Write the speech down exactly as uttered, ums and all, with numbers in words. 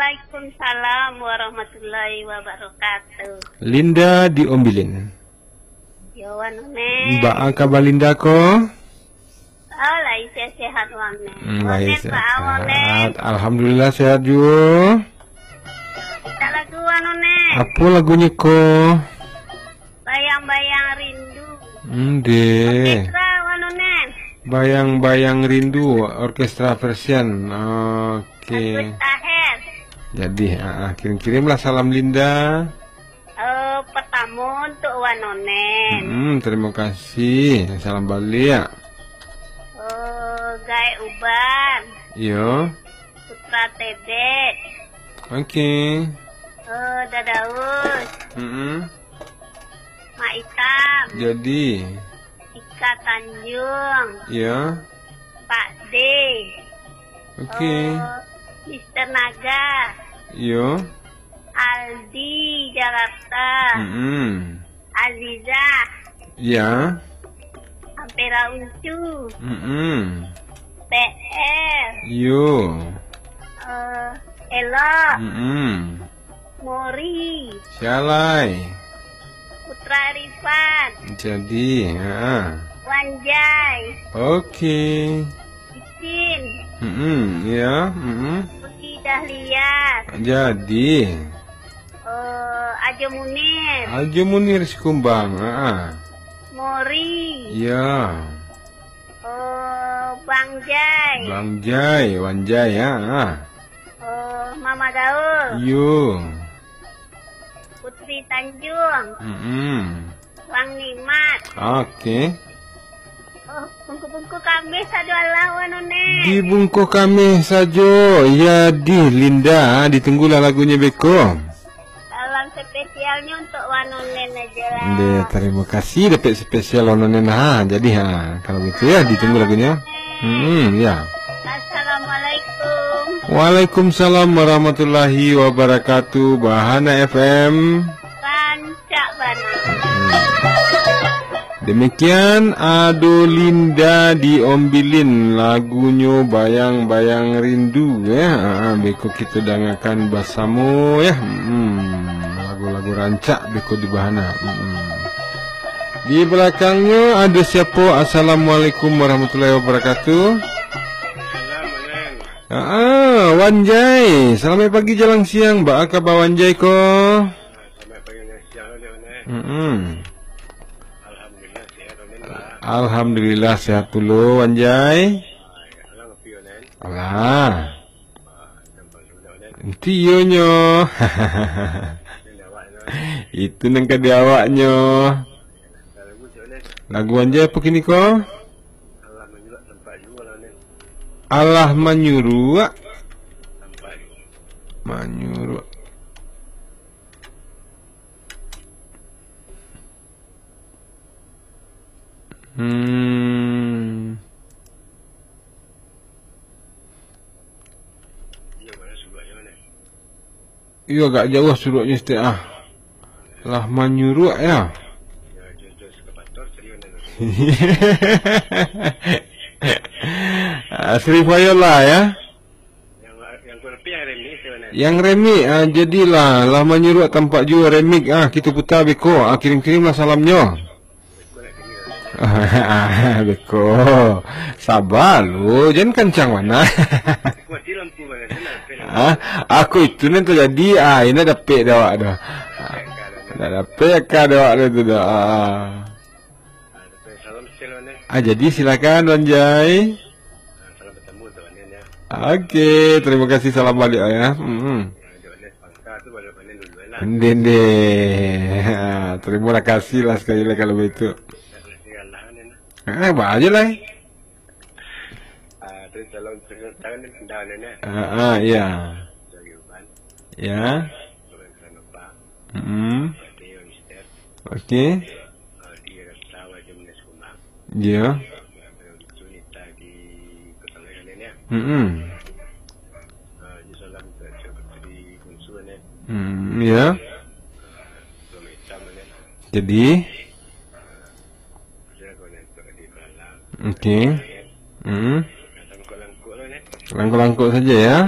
Waalaikumsalam warahmatullahi wabarakatuh. Linda di Ombilin. Yo, Wan Onen. Baa kaba Linda ko? Oh, lai sehat-sehat, Wan Onen. Hmm, lai sehat. Baa, Wan Onen? Alhamdulillah, sehat juo. Mintak lagu, Wan Onen. Apo lagunyo ko? Bayang-bayang rindu. Ndeh. Orkestra, Wan Onen. Bayang-bayang rindu, orkestra Persian. Oke. Agus Taher. Jadi, ah, ah, kirim-kirimlah salam Linda. Eh, pertamo untuk Wan Onen. Hmm, terima kasih. Salam baliak. Eh, Gaek Uban. Iyo. Putra Tebet. Oke. Eh, Dadaus. Mm-mm. Mak Itam. Jadi. Ika Tanjung. Iyo. Pak D. Oke. Eh, Mister Naga. Iyo. Aldi, Jakarta. Mm-mm. Azizah. Iya. Ampera Uncu. Mm-mm. P R. Iyo. Eh, Elok. Mm-mm. Mori. Sialai. Putra Arifan. Jadi, ha. Wanjai. Oke. Icin. Mm-mm, iya, mm-mm. Putri Dahlia. Jadi. Eh, Ajo Munir. Ajo Munir Sikumbang, ha. Mori. Iya. Eh, Bang Jai. Bang Jai, Wanjai, ha. Eh, Mama Gaul. Iyo. Putri Tanjung. Mm-mm. Bang Nikmat. Oke. Oh, bungkuh-bungkuh kamih sajo alah, Wan Onen. Dibungkuh kamih sajo. Ya, dih, Linda, ditunggulah lagunyo beko. Salam spesialnyo untuk Wan Onen aja lah. Deh, terima kasih, dapek spesial Wan Onen, ha. Jadi, ha, kalau gitu ya, ditunggu lagunyo. Hmm, ya. Assalamualaikum. Waalaikumsalam warahmatullahi wabarakatuh. Bahana F M. Rancak bana. Demikian Ado Linda di Ombilin, lagunyo Bayang-Bayang Rindu, ya. Ah, beko kita dangakan basamo, ya. Hmm, lagu-lagu rancak beko di bahana. Hmm. Di balakangnyo ado siapo? Assalamualaikum warahmatullahi wabarakatuh. Salam, Wan. Ah, Wan Jai. Selamat pagi jalang siang. Baa kaba Wan Jai ko? Selamat pagi jalang siang, Wan Jai. Mm-mm. Alhamdulillah, sehat, Wan. Alhamdulillah, sehat pulo, Wan Jai. Alah, ngopi, Wan. Alah. Enti iyo nyo. Itu nan ka di awaknyo. Lagu Wan Jai apo kini ko? Alah manyuruak. Manyuruak. Hmm. Iyo, agak jauah suruaknyo sitek ah. Lah manyuruak ya. Ah, Sri Viola ya. Yang, yang kurang lebih yang remix sebenarnya. Yang remix, ah, jadilah, lah manyuruak tampak juo remix, ah, kita putar beko, ah, kirim-kirimlah salamnyo. Beko nak kini lah. Beko. Sabar lu, jangan kancang bana. Mati lampu bana, sana, apa yang Ah, aku itu nan terjadi, ah, ini dapek dek awak tu. Ah, nak dapek ka dek awak tu dah. Ah. Ah, dapek salam sekian, Wan, eh. Ah, jadi silakan, Wan Jai. Ah, salam bertemu tu, Wan, ya. Oke, terima kasih, salam balik ya. Hmm. Ya, Wan, eh, pangka tu, Wan, Wan, dulu lah. Ndeh, ndeh. Ah, terima kasih lah sekali lah kalau begitu. Terima kasih, Allah, Wan, eh. Ah, apa aja lah. Ah, terus salam, terus salam, Wan, eh. Ah, ah, iya. Dari Uban. Ya. Wan, Wan, Wan. Mm-mm. Oke. Iya. Mm-mm. Mm, ya. Jadi. Oke. Mm. Langkok-langkok saja ya.